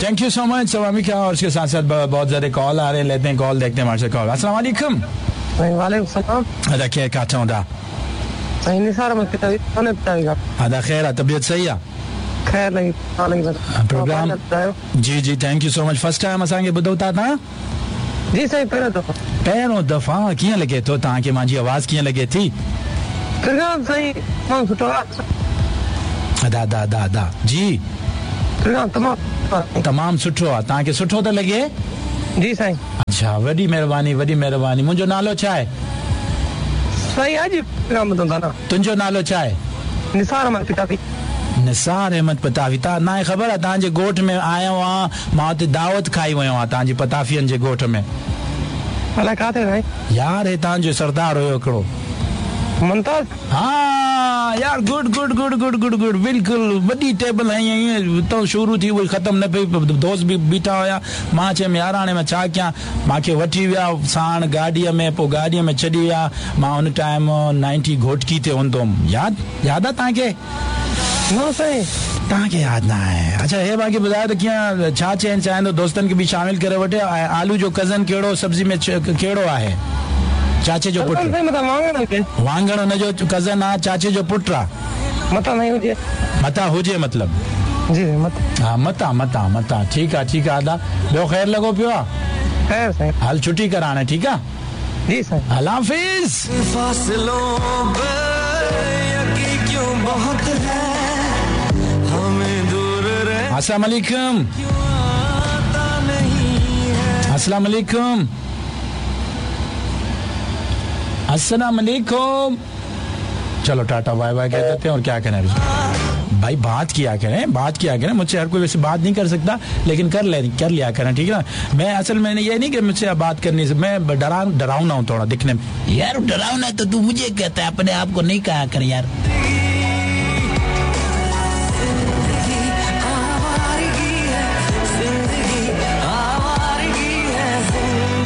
Thank you so much सवामिका। और उसके साथ साथ बहुत ज़्यादा कॉल आ रहे हैं, लेते हैं कॉल, देखते हैं हमारे से कॉल। अस्सलाम वालेकुम। वालेकुम सलाम। अदा खैर काटा हूँ। साईं निसार अहमद पितावी। अदा खैर, तबीयत सही है? खैर नहीं प्रोग्राम। जी जी, thank you so much. First time असांखे ॿुधो था तव्हां? जी साईं, पहिरियों दफ़ो। पहिरियों दफ़ा। कीअं लॻे थो तव्हांखे मुंहिंजी आवाज़, कीअं लॻे थी? प्रोग्राम साईं तमामु सुठो आहे। अदा अदा अदा अदा जी, प्रोग्राम तमामु तमामु सुठो आहे। तव्हांखे सुठो थो लॻे? जी साईं। अच्छा, वॾी महिरबानी, वॾी महिरबानी। मुंहिंजो नालो छा आहे? साईं अॼु प्रोग्राम ॿुधो था न। तुंहिंजो नालो छा आहे? निसार अहमद पितावी। निसार अहमद पताफी। तव्हां ना ख़बर आहे, तव्हांजे ॻोठ में आयो आहियां, मां हुते दावत खाई वियो आहियां तव्हांजी पताफियनि जे ॻोठ में। अलाए किथे साईं? यार हे तव्हांजो सरदार हुयो हिकिड़ो मुमताज़। हा यार, good good good good good good, बिल्कुलु वॾी टेबल हई ईअं हुतां शुरू थी वई ख़तमु न पई। दोस्त बि बीठा हुया। मां चयुमि यार हाणे मां छा कयां, मूंखे वठी विया साण गाॾीअ में, पोइ गाॾीअ में छॾी विया। मां हुन टाइम 90 घोटकी ते हूंदो हुउमि। यादि यादि आहे तव्हांखे? न साईं, तव्हांखे यादि न आहे। अच्छा, हे मूंखे ॿुधायो त कीअं छा चवणु चाहींदो, दोस्तनि खे बि शामिल करे वठे। ऐं आलू जो कज़न कहिड़ो सब्ज़ी में कहिड़ो आहे? चाचे जो पुट। वांगण हुनजो कज़न आहे, चाचे जो पुटु आहे। मतां नहीं हुजे, मतां हुजे मतिलबु। जी हा, मतां मतां मतां। ठीकु आहे, ठीकु आहे अदा। ॿियो ख़ैर लॻो पियो आहे? ख़ैर साईं। हल छुट्टी कर हाणे, ठीकु आहे? जी साईं। अल्लाह हाफ़िज़। अस्सलाम वालेकुम। अस्सलाम वालेकुम। अस्सलाम वालेकुम। चलो टाटा बाय बाय कह देते हैं और क्या करें भाई, बात किया करें, बात किया करें। मुझसे हर कोई वैसे बात नहीं कर सकता, लेकिन कर लिया करें, ठीक है ना। मैं असल में ये नहीं कि मुझसे बात करनी, मैं डराऊना हूँ थोड़ा दिखने में। यार डराऊना तो तू मुझे कहता है, अपने आप को नहीं कहा कर यार।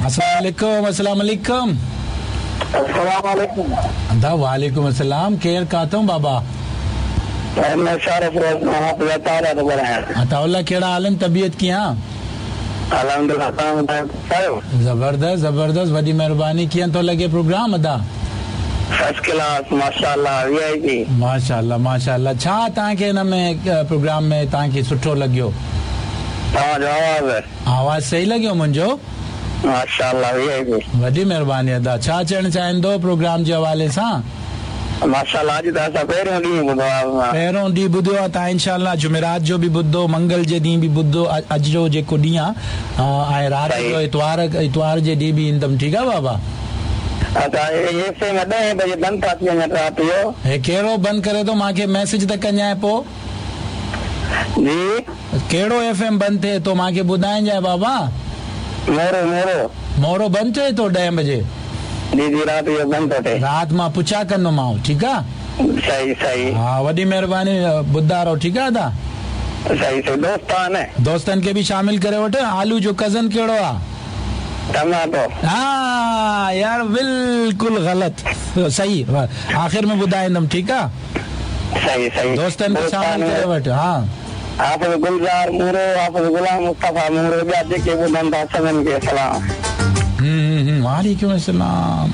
अस्सलाम वालेकुम। अस्सलाम वालेकुम। अस्सलाम वालेकुम। अदा वालेकुम अस्सलाम। केर काथूं बाबा? अताउल्ला, कहिड़ा हाल आहिनि? तबीयत कीअं? अल्हम्दुलिल्लाह, तव्हां ॿुधायो? ज़बरदस्त ज़बरदस्त, वॾी महिरबानी। कीअं थो लॻे प्रोग्राम अदा? फर्स्ट क्लास, माशाअल्लाह, वीआईपी। माशाअल्लाह माशाअल्लाह। छा तव्हांखे हिन में प्रोग्राम में तव्हांखे सुठो लॻियो? तव्हांजो आवाज़। आवाज़ सही लॻियो मुंहिंजो? माशाअल्लाह, वीआईपी। वॾी महिरबानी अदा। छा चवणु चाहींदो प्रोग्राम जे हवाले सां? माशाअल्लाह, अॼु त असां पहिरियों ॾींहुं ॿुधो आहे। पहिरियों ॾींहुं ॿुधियो आहे तव्हां। इंशाअल्लाह जुमेरात जो बि ॿुधो, मंगल जे ॾींहुं बि ॿुधो, अॼु जो जेको ॾींहुं आहे ऐं राति जो इतवार, इतवार जे ॾींहुं बि ईंदमि, ठीकु आहे बाबा? अच्छा, हे में 10 बजे बंदि था थी वञनि राति जो। हे कहिड़ो बंदि करे थो? मूंखे मैसेज त कजांइ पोइ। जी, कहिड़ो एफ एम बंदि थिए थो मूंखे ॿुधाइजांइ बाबा? मोरो मोरो मोरो बंदि थिए थो 10 बजे? जी जी, राति जो बंदि थो थिए। राति मां पुछा कंदोमांव, ठीकु आहे? सही सही। हा, वॾी महिरबानी, ॿुधा रहो, ठीकु आहे अदा? सही सही। दोस्त आहिनि? दोस्तनि खे बि शामिल करे वठ। आलू जो कज़न कहिड़ो आहे? टमाटो। हा यार, बिल्कुलु ग़लति। सही, आख़िर में ॿुधाईंदमि, ठीकु आहे? सही सही। दोस्तनि खे शामिल करे वठ। हा, हाफ़िज़ गुलज़ार मूरो, हाफ़िज़ ग़ुलाम मुस्तफ़ा मूरो, ॿिया जेके ॿुधनि था सभिनि खे सलाम। वालेकुम अस्सलाम।